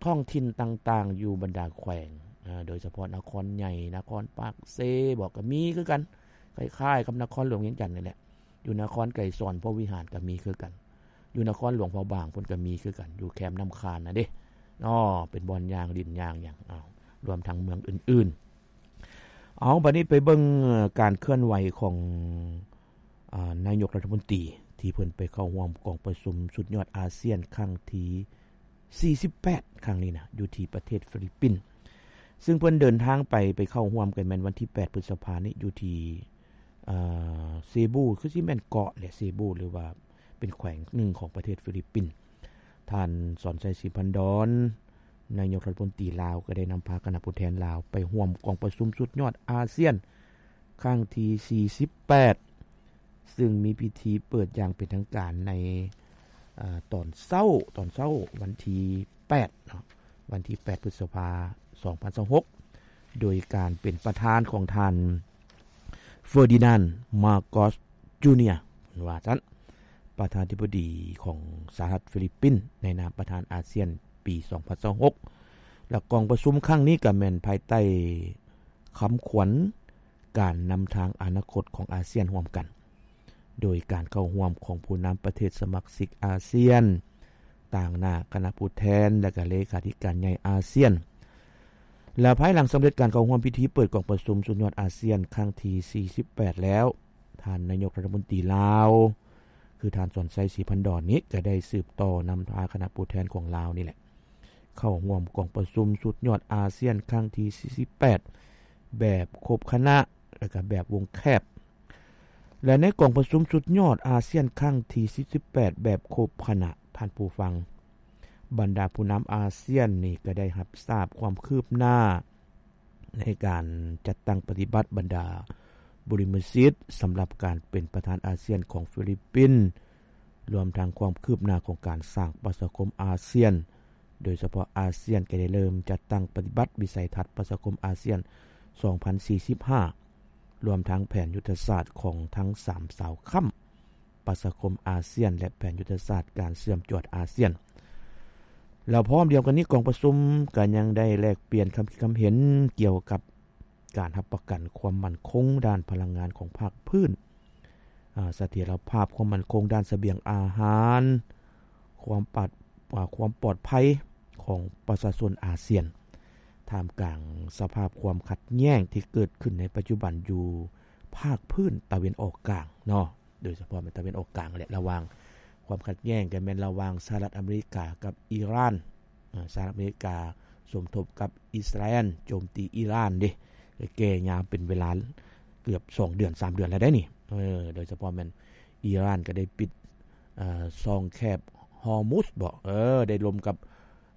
ທ້ອງຖິ່ນຕ່າງໆ ຢູ່ບັນດາແຂວງ ເອີ ໂດຍສະເພາະນະຄອນໃຫຍ່ ນະຄອນປາກເຊບໍ ກໍມີຄືກັນ ຄ້າຍໆກັບນະຄອນຫຼວງວຽງຈັນນີ້ແຫຼະ. ຢູ່ນະຄອນໄກສອນ ພົມວິຫານກໍມີຄືກັນ ຢູ່ນະຄອນຫຼວງພະບາງພຸ້ນກໍມີຄືກັນ ຢູ່ແຄມນ້ຳຄານນະເດ້. ເນາະ ເປັນບ່ອນຍ່າງຫຼິ້ນຍ່າງຫຍັງ ເອົາ ລວມທັງເມືອງອື່ນໆ. ເອົາ ບັດນີ້ໄປເບິ່ງ ເອີ ການເຄື່ອນໄຫວຂອງ ອາ ນາຍົກລັດຖະມົນຕີ ທີ່ເພິ່ນໄປເຂົ້າຮ່ວມກອງປະຊຸມສຸດຍອດອາຊຽນຄັ້ງທີສີ່ສິບແປດ ຄັ້ງນີ້ນະ ຢູ່ທີ່ປະເທດຟີລິບປິນ ຊຶ່ງເພິ່ນເດີນທາງໄປ ໄປເຂົ້າຮ່ວມກັນແມ່ນວັນທີແປດ ພຶດສະພານີ້ ຢູ່ທີ່ ເອີ ເຊບູ ຄືຊິແມ່ນເກາະແຫຼະ ເຊບູ ຫຼືວ່າເປັນແຂວງໜຶ່ງຂອງປະເທດຟີລິບປິນ. ທ່ານ ສອນໄຊ ສີພັນດອນ ນາຍົກລັດຖະມົນຕີລາວ ກໍໄດ້ນຳພາຄະນະຜູ້ແທນລາວໄປຮ່ວມກອງປະຊຸມສຸດຍອດອາຊຽນຄັ້ງທີສີ່ສິບແປດ ຊຶ່ງມີພິທີເປີດຢ່າງເປັນທາງການໃນ ເອີ ຕອນເຊົ້າ ຕອນເຊົ້າວັນທີແປດເນາະ ວັນທີແປດ ພຶດສະພາ ສອງພັນຊາວຫົກ ໂດຍການເປັນປະທານຂອງທ່ານ ເຟີດີນານ ມາໂກສ ຈູເນຍ ເພິ່ນວ່າຊັ້ນ ປະທານາທິບໍດີຂອງສະຫະລັດຟີລິບປິນ ໃນນາມປະທານອາຊຽນປີສອງພັນຊາວຫົກ ແລະ ກອງປະຊຸມຄັ້ງນີ້ກໍແມ່ນພາຍໃຕ້ຄຳຂວັນ ການນຳທາງອະນາຄົດຂອງອາຊຽນຮ່ວມກັນ ໂດຍການເຂົ້າຮ່ວມຂອງຜູ້ນຳປະເທດສະມາຊິກອາຊຽນ, ຕາງໜ້າຄະນະຜູ້ແທນ ແລະ ກະເລຂາທິການໃຫຍ່ອາຊຽນ. ແລະ ພາຍຫຼັງສຳເລັດການເຂົ້າຮ່ວມພິທີເປີດກອງປະຊຸມສຸດຍອດອາຊຽນຄັ້ງທີສີ່ສິບແປດແລ້ວ, ທ່ານນາຍົກລັດຖະມົນຕີລາວ ຄືທ່ານ ສອນໄຊ ສີພັນດອນ ນີ້ ກະໄດ້ສືບຕໍ່ນຳພາຄະນະຜູ້ແທນຂອງລາວນີ້ແຫຼະ ເຂົ້າຮ່ວມກອງປະຊຸມສຸດຍອດອາຊຽນຄັ້ງທີສີ່ສິບແປດ ແບບຄົບຄະນະ ແລະ ກະແບບວົງແຄບ. ແລະ ໃນກອງປະຊຸມສຸດຍອດອາຊຽນຄັ້ງທີສີ່ສິບແປດ ແບບຄົບຄະນະ, ທ່ານຜູ້ຟັງ, ບັນດາຜູ້ນຳອາຊຽນນີ້ກະໄດ້ຮັບຊາບຄວາມຄືບໜ້າ ໃນການຈັດຕັ້ງປະຕິບັດບັນດາບຸລິມະສິດ ສຳລັບການເປັນປະທານອາຊຽນຂອງຟີລິບປິນ, ລວມທັງຄວາມຄືບໜ້າຂອງການສ້າງປະຊາຄົມອາຊຽນ, ໂດຍສະເພາະອາຊຽນກໍໄດ້ເລີ່ມຈັດຕັ້ງປະຕິບັດວິໄສທັດປະຊາຄົມອາຊຽນສອງພັນສີ່ສິບຫ້າ ລວມທັງແຜນຍຸດທະສາດຂອງທັງສາມເສົາຄ້ຳ ປະຊາຄົມອາຊຽນ ແລະ ແຜນຍຸດທະສາດການເຊື່ອມຈວດອາຊຽນ. ແລ້ວພ້ອມດຽວກັນນີ້ ກອງປະຊຸມກໍຍັງໄດ້ແລກປ່ຽນຄຳຄິດຄຳເຫັນກ່ຽວກັບການຮັບປະກັນຄວາມໝັ້ນຄົງດ້ານພະລັງງານຂອງພາກພື້ນ, ອາ, ສະຖຽນລະພາບຄວາມໝັ້ນຄົງດ້ານສະບຽງອາຫານ, ຄວາມປາດ, ອາ, ຄວາມປອດໄພຂອງປະຊາຊົນອາຊຽນ, ທ່າມກາງສະພາບຄວາມຂັດແຍ້ງທີ່ເກີດຂຶ້ນໃນປັດຈຸບັນຢູ່ພາກພື້ນຕາເວັນອອກກາງເນາະ. ໂດຍສະເພາະແມ່ນຕາເວັນອອກກາງແຫຼະ ລະຫວ່າງ ຄວາມຂັດແຍ້ງກໍແມ່ນລະຫວ່າງສະຫະລັດອາເມລິກາກັບອີຣານ. ອາ, ສະຫະລັດອາເມລິກາສົມທົບກັບອິດສະຣາແອນໂຈມຕີອີຣານເດ້, ແກ່ຍາມເປັນເວລາເກືອບສອງເດືອນ ສາມເດືອນແລ້ວໄດ໋ນີ້. ເອີ, ໂດຍສະເພາະແມ່ນອີຣານກໍໄດ້ປິດ, ເອີ, ຊ່ອງແຄບຮໍມຸດບໍ? ເອີ, ໄດ້ລົມກັບ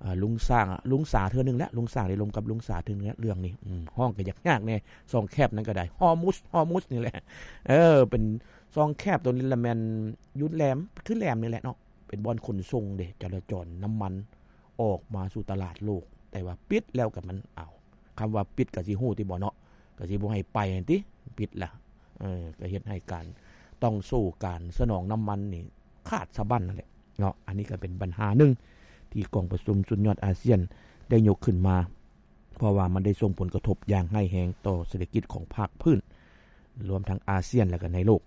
ອາ ລຸງຊ້າງ ລຸງສາເທື່ອໜຶ່ງແຫຼະ, ລຸງຊ້າງໄດ້ລົມກັບລຸງສາເທື່ອໜຶ່ງແຫຼະ ເລື່ອງນີ້. ອືມ ຮ້ອງກໍຍາກໆແດ່ ຊ່ອງແຄບນັ້ນກໍໄດ້ ຮໍມຸດ ຮໍມຸດນີ້ແຫຼະ. ເອີ ເປັນຊ່ອງແຄບໂຕນີ້ລະແມ່ນຢູ່ແຫຼມ ຄືແຫຼມນີ້ແຫຼະເນາະ, ເປັນບ່ອນຂົນສົ່ງເດ້ ຈະລາຈອນນ້ຳມັນອອກມາສູ່ຕະຫຼາດໂລກ, ແຕ່ວ່າປິດແລ້ວກໍມັນ ເອົາ ຄຳວ່າປິດກໍຊິຮູ້ຕິບໍເນາະ, ກໍຊິບໍ່ໃຫ້ໄປຫັ້ນຕິ ປິດລະ. ເອີ ກໍເຮັດໃຫ້ການ ຕ້ອງໂສ້ການສະໜອງນ້ຳມັນນີ້ຂາດສະບັ້ນນັ້ນແຫຼະເນາະ. ອັນນີ້ກໍເປັນບັນຫາໜຶ່ງທີ່ກອງປະຊຸມສຸດຍອດອາຊຽນໄດ້ຍົກຂຶ້ນມາ, ເພາະວ່າມັນໄດ້ສົ່ງຜົນກະທົບຢ່າງຮ້າຍແຮງຕໍ່ເສດຖະກິດຂອງພາກພື້ນ, ລວມທັງອາຊຽນ ແລະ ກໍໃນໂລກ.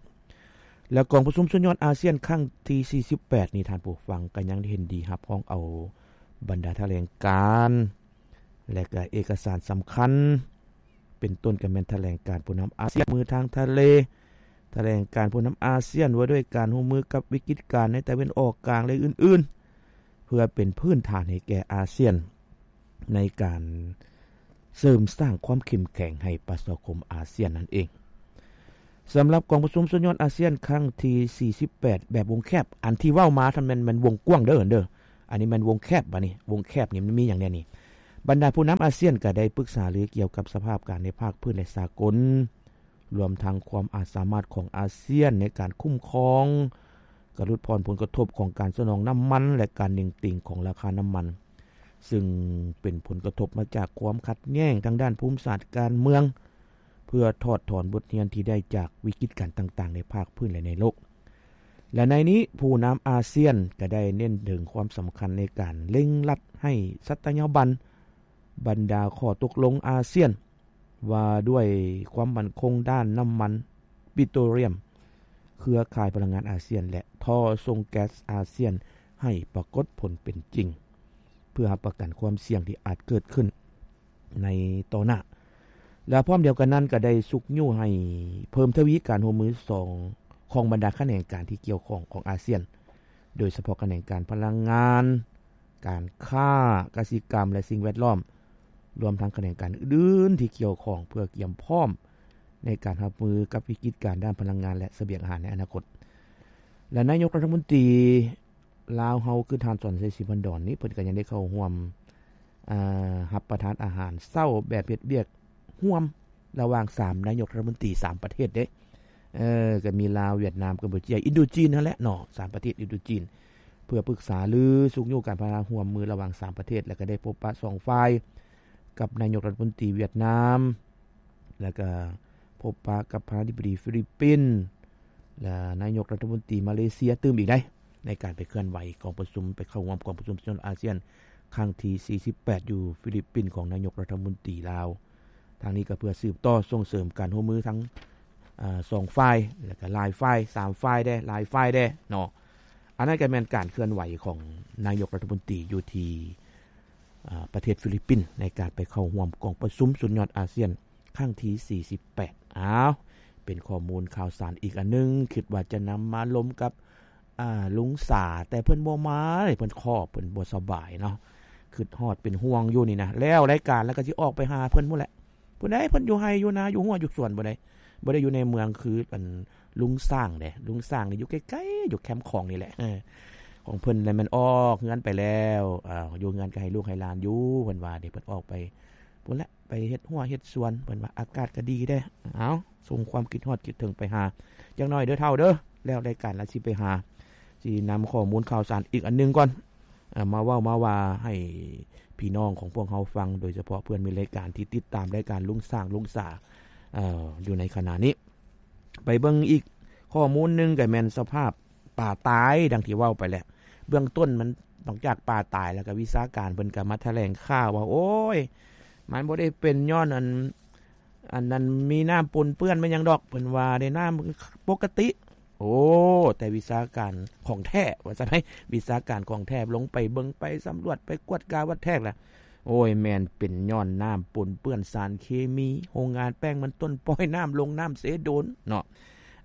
ແລະ ກອງປະຊຸມສຸດຍອດອາຊຽນຄັ້ງທີສີ່ສິບແປດນີ້, ທ່ານຜູ້ຟັງກໍຍັງໄດ້ເຫັນດີຮັບຮອງເອົາບັນດາຖະແຫຼງການ ແລະ ກໍເອກະສານສຳຄັນ ເປັນຕົ້ນກໍແມ່ນຖະແຫຼງການຜູ້ນຳອາຊຽນຮ່ວມມືທາງທະເລ, ຖະແຫຼງການຜູ້ນຳອາຊຽນວ່າດ້ວຍການຮ່ວມມືກັບວິກິດການໃນຕາເວັນອອກກາງ ແລະ ອື່ນໆ ເພື່ອເປັນພື້ນຖານໃຫ້ແກ່ອາຊຽນ ໃນການເສີມສ້າງຄວາມເຂັ້ມແຂງໃຫ້ປະຊາຄົມອາຊຽນນັ້ນເອງ. ສຳລັບກອງປະຊຸມສຸດຍອດອາຊຽນຄັ້ງທີສີ່ສິບແປດແບບວົງແຄບ, ອັນທີ່ເວົ້າມານັ້ນແມ່ນ ແມ່ນວົງກວ້າງເດີ ເດີ. ອັນນີ້ແມ່ນວົງແຄບ, ບາດນີ້ວົງແຄບນີ້ມັນມີຫຍັງແດ່ນີ້? ບັນດາຜູ້ນຳອາຊຽນກໍໄດ້ປຶກສາລືກ່ຽວກັບສະພາບການໃນພາກພື້ນ ແລະ ສາກົນ, ລວມທັງຄວາມອາດສາມາດຂອງອາຊຽນໃນການຄຸ້ມຄອງ, ການຫຼຸດຜ່ອນຜົນກະທົບຂອງການສະໜອງນ້ຳມັນ ແລະ ການເໜັງຕີງຂອງລາຄານ້ຳມັນ, ຊຶ່ງເປັນຜົນກະທົບມາຈາກຄວາມຂັດແຍ່ງທາງດ້ານພູມສາດການເມືອງ, ເພື່ອຖອດຖອນບົດຮຽນທີ່ໄດ້ຈາກວິກິດການຕ່າງໆໃນພາກພື້ນ ແລະ ໃນໂລກ. ແລະ ໃນນີ້ ຜູ້ນຳອາຊຽນກໍໄດ້ເນັ້ນເຖິງຄວາມສຳຄັນໃນການເລັ່ງລັດໃຫ້ສັດຕະຍາບັນບັນດາຂໍ້ຕົກລົງອາຊຽນວ່າດ້ວຍຄວາມໝັ້ນຄົງດ້ານນ້ຳມັນປິໂຕຣລຽມ, ເຄືອຂ່າຍພະລັງງານອາຊຽນ ແລະ ທໍ່ສົ່ງແກັສອາຊຽນໃຫ້ປາກົດຜົນເປັນຈິງ. ເພື່ອຮັບປະກັນຄວາມສ່ຽງທີ່ອາດເກີດຂຶ້ນໃນຕໍ່ໜ້າ. ແລະ ພ້ອມດຽວກັນນັ້ນກໍໄດ້ຊຸກຍູ້ໃຫ້ເພີ່ມທະວີການຮ່ວມມືສອງ ຂອງບັນດາຂະແໜງການທີ່ກ່ຽວຂ້ອງຂອງອາຊຽນ, ໂດຍສະເພາະຂະແໜງການພະລັງງານ, ການຄ້າ, ກະສິກຳ ແລະ ສິ່ງແວດລ້ອມ, ລວມທັງຂະແໜງການອື່ນໆທີ່ກ່ຽວຂ້ອງ ເພື່ອກຽມພ້ອມໃນການຮັບມືກັບວິກິດການດ້ານພະລັງງານ ແລະ ສະບຽງອາຫານໃນອະນາຄົດ. ແລະ ນາຍົກລັດຖະມົນຕີລາວເຮົາ ຄືທ່ານ ສອນໄຊ ສີພັນດອນ ນີ້ ເພິ່ນກໍຍັງໄດ້ເຂົ້າຮ່ວມ ອາ ຮັບປະທານອາຫານເຊົ້າແບບເຮັດວຽກຮ່ວມ ລະຫວ່າງສາມນາຍົກລັດຖະມົນຕີສາມປະເທດເດ້. ເອີ ກໍມີລາວ, ຫວຽດນາມ, ກຳປູເຈຍ, ອິນໂດຈີນຫັ້ນແຫຼະເນາະ, ສາມປະເທດອິນໂດຈີນ ເພື່ອປຶກສາລືຊຸກຍູ້ການພັດທະນາຮ່ວມມືລະຫວ່າງສາມປະເທດ ແລະ ກໍໄດ້ພົບປະສອງຝ່າຍກັບນາຍົກລັດຖະມົນຕີຫວຽດນາມ ແລະ ກໍພົບປະກັບປະທານາທິບໍດີຟີລິບປິນ ແລະ ນາຍົກລັດຖະມົນຕີມາເລເຊຍຕື່ມອີກໄດ໋ ໃນການໄປເຄື່ອນໄຫວກອງປະຊຸມ ໄປເຂົ້າຮ່ວມກອງປະຊຸມສຸດຍອດອາຊຽນຄັ້ງທີສີ່ສິບແປດ ຢູ່ຟີລິບປິນ ຂອງນາຍົກລັດຖະມົນຕີລາວ. ທາງນີ້ກໍເພື່ອສືບຕໍ່ສົ່ງເສີມການຮ່ວມມືທັງ ອາ ສອງຝ່າຍ ແລະ ກໍຫຼາຍຝ່າຍ, ສາມຝ່າຍແດ່, ຫຼາຍຝ່າຍແດ່ເນາະ. ອັນນັ້ນກໍແມ່ນການເຄື່ອນໄຫວຂອງນາຍົກລັດຖະມົນຕີຢູ່ທີ່ ອາ ປະເທດຟີລິບປິນ ໃນການໄປເຂົ້າຮ່ວມກອງປະຊຸມສຸດຍອດອາຊຽນຄັ້ງທີສີ່ສິບແປດ. ອ້າວ ເປັນຂໍ້ມູນຂ່າວສານອີກອັນໜຶ່ງ ຄິດວ່າຈະນຳມາລົມກັບ ອາ ລຸງສາ ແຕ່ເພິ່ນບໍ່ມາເລີຍ, ເພິ່ນຂໍ ເພິ່ນບໍ່ສະບາຍເນາະ, ຄິດຮອດເປັນຫ່ວງຢູ່ນີ້ນະ. ແລ້ວລາຍການແລ້ວກໍຊິອອກໄປຫາເພິ່ນພຸ້ນແຫຼະ, ຜູ້ໃດເພິ່ນຢູ່ໄຮ່ຢູ່ນາ ຢູ່ຮົ້ວຢູ່ສວນ ຜູ້ໃດບໍ່ໄດ້ຢູ່ໃນເມືອງຄືອັນລຸງຊ້າງເດ້. ລຸງຊ້າງນີ້ຢູ່ໃກ້ໆ ຢູ່ແຄມຂອງນີ້ແຫຼະ. ເອີ ຂອງເພິ່ນແລ້ວແມ່ນອອກເຮືອນໄປແລ້ວ, ເອີ ຢູ່ເຮືອນກໍໃຫ້ລູກໃຫ້ຫຼານຢູ່ ເພິ່ນວ່າເດ້. ເພິ່ນອອກໄປພຸ້ນແຫຼະ ໄປເຮັດຮົ້ວເຮັດສວນ ເພິ່ນວ່າອາກາດກໍດີເດ້. ເອົາ ສົ່ງຄວາມຄິດຮອດຄິດເຖິງໄປຫາຈັກໜ້ອຍເດີເຖົ້າເດີ, ແລ້ວລາຍການລະຊິໄປຫາ ຊິນຳຂໍ້ມູນຂ່າວສານອີກອັນໜຶ່ງກ່ອນ ເອີ ມາເວົ້າມາວ່າໃຫ້ພີ່ນ້ອງຂອງພວກເຮົາຟັງ, ໂດຍສະເພາະເພື່ອນມິດລາຍການທີ່ຕິດຕາມລາຍການລຸງຊ້າງລຸງສາ ເອີ ຢູ່ໃນຂະນະນີ້. ໄປເບິ່ງອີກຂໍ້ມູນໜຶ່ງ ກໍແມ່ນສະພາບປາຕາຍ ດັ່ງທີ່ເວົ້າໄປແຫຼະ. ເບື້ອງຕົ້ນມັນນອກຈາກປາຕາຍແລ້ວ ກໍວິຊາການເພິ່ນກໍມາຖະແຫຼງຂ່າວວ່າ ໂອ້ຍ ມັນບໍ່ໄດ້ເປັນຍ້ອນອັນ ອັນນັ້ນມີນ້ຳປົນເປື້ອນແມ່ນຫຍັງດອກ ເພິ່ນວ່າໄດ້ນ້ຳປົກກະຕິ. ໂອ້ ແຕ່ວິຊາການຂອງແທ້ວ່າຊັ້ນໃດ໋, ວິຊາການຂອງແທ້ລົງໄປເບິ່ງ ໄປສຳຫຼວດ ໄປກວດກາວັດແທກລະ ໂອ້ຍ ແມ່ນເປັນຍ້ອນນ້ຳປົນເປື້ອນສານເຄມີ ໂຮງງານແປ້ງມັນຕົ້ນປ່ອຍນ້ຳລົງນ້ຳເຊໂດນເນາະ.